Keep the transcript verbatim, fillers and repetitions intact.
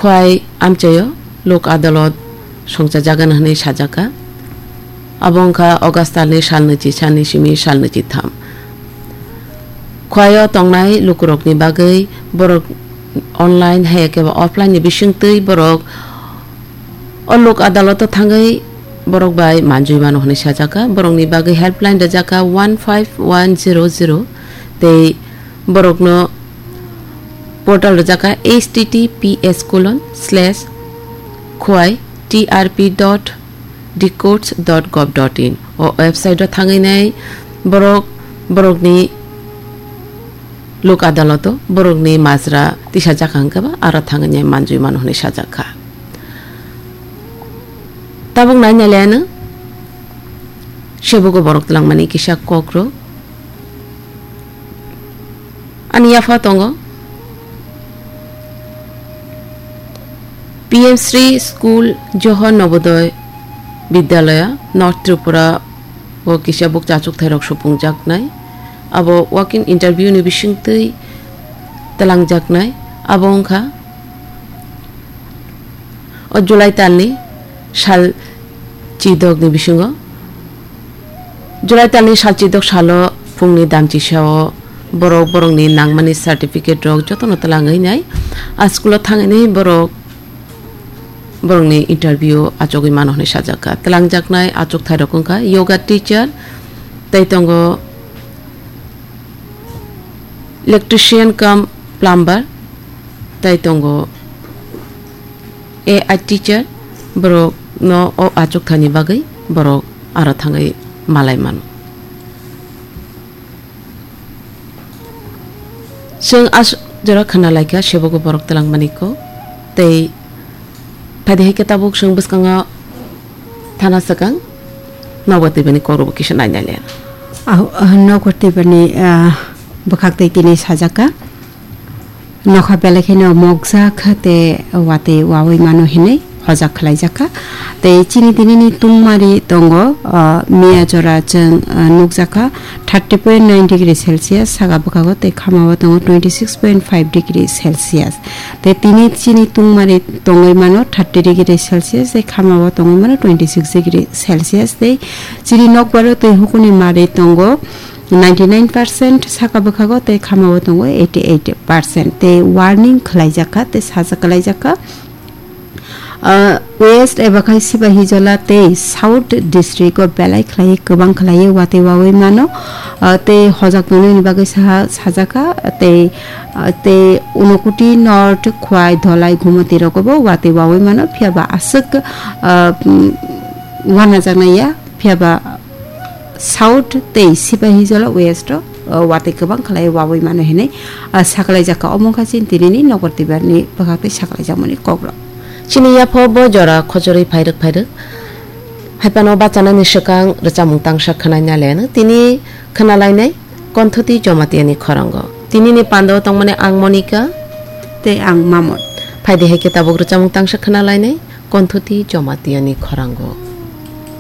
Bai amchaio Lok Adalot songchajagan hwnwi sajakha. Abo wngkha August talni salnwi chi sani simi salnwi chi tham. Khwaio tongnai lukurokni bagwi borok online hai khe offline ni bisingtwi borok o Lok Adaloto thangwi borok bai manjui mano hwnwi sajakha. Borokni bagwi helpline rwjakha one five one zero zero tei borokno portal rwjakha https colon slash khwai trp dot dcourts dot gov dot in. O website o thangwi nai borok borokni Lok Adaloto borokni majra tisa jakha hwnkhe ba aro thangwi nai manjui mano hwnwi sajakha. Tabuk nai nai laiano sebogo borok twlangmani kisa kokrok. Ani yapha tongo P M Shri School Johor Nobodoy Vidyalaya North Tripura o kisa bukcha achukthai rok supungjaknai. Abo walk-in interview ni bisingtwi twlangjaknai. Abo wngkha o July talni sal chidokni bisingo, July talni sal chidok salo phungni damchisao borok borokni nangmani certificate rok jotono twlangwi nai. A school o thangwi nai borok borokni interview achugwi mano hwnwi sajakha. Twlangjaknai achukthai rok wngkha yoga teacher, tei tongo electrician cum plumber, tei tongo A I teacher, borok no o achukthani bagwi borok aro thangwi malai mano. Chwng as jora khna laikha sebogo borok twlangmani kok, tei phaidi hai khe tabuk chwng bwskango thana swkang nogo twibani kok rokbo kisa nai nai le. Aho, ah, nogo twibani, ah, bwkhak tei tini sajaka. Nokha belai kheno mokjak te watwi wawi mano hinwi hojak khlaijakha. Tei chini tinini tungmari tongo, ah, miya jora chwng, ah, nukjakha thirty point nine degree Celsius, saka bwkhago tei khamao tongo twenty six point five degree Celsius. Tei tini chini tungmari tongwi mano thirty degree Celsius, tei khamao tongwi mano twenty six degree Celsius, tei chini nokbaro twi hukuni mari tongo ninety nine percent, saka bwkhago tei khamao tongo eighty eight percent, tei warning khlaijakha tei sajak khlaijakha. Ah, West eba khai Sipahijola tei South district o belai khlai kwbang khlai watwi wawi mano, ah, tei hojak tongnani bagwi saha sajakha tei, ah, tei Unakoti North, Khwai, Dholai, Gumoti rogo bo watwi wawi mano, phiya ba aswk, ah, mm, wanajaknai ya, phiya ba South tei Sipahijola West o, o, watwi kwbang khlai wawi mano hinwi, ah, sakhlaijakha. Omo wngkha chini tinini nokbar twibarni bwkhak tei sakhlaijakmani kokrok. Chini yapha bo jora khojorwi phairwk phairwk. Haiphano bachanani swkang rwchapmung tangsa khwnai nai laino. Tini khwnalainai Konthuti Jomatiani khorango. Tinini pandao tongmani ang Monika. Tei ang Mamon. Phaidi hai khe tabuk rwchapmung tangsa khwnalainai Konthuti Jomatiani khorango.